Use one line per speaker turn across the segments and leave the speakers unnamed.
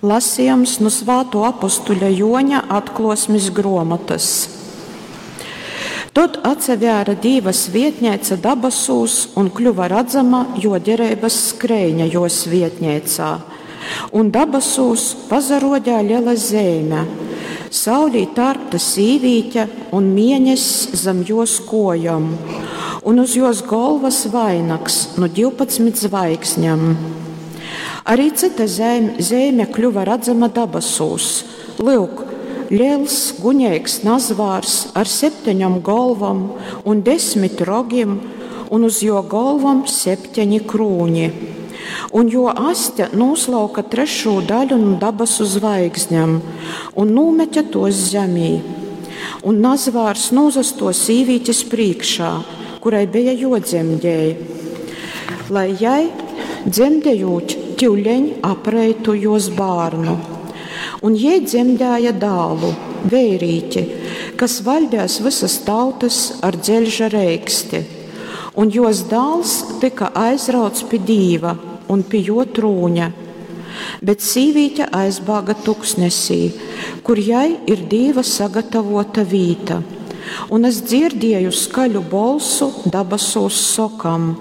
Lasījums nu Svātuo apustuļa Juoņa atklōsmis gruomotys. Tod atsavēra Dīva svietneica dabasūs un kļuva radzama juo dereibys skreiņa juo svietneicā. Un dabasūs pasaruodēja lela zeime: saulī tārpta sīvīte un mieness zam juos kuojom, un uz juos golvas vainags nu 12 zvaigznem. Arī cyta zeime kļuva radzama dabasūs. Lyuk, liels guņeigs nazvārs ar septeņom golvom un 10 rogim, un uz juo golvom septeņi krūņi. Un juo aste nūslauka trešū daļu nu dabasu zvaigznem un nūmete tuos zemī. Un nazvārs nūzastuo sīvītis prīškā, kurai beja juodzemdej, lai jai dzemdejūt tiuleņ apreitu juos bārnu. Un jei dzemdēja dālu, veirīti, kas vaļdēs vysys tautys ar dzeļža reiksti. Un juos dāls tyka aizrauts pi Dīva un pi juo trūņa. Bet sīvīte aizbāga tuksnesī, kur jai ir Dīva sagatavota vīta. Un es dzierdieju skaļu bolsu dabasūs sokam: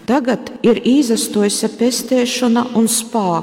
Tagad ir īsastuojuse pesteišona un spāks.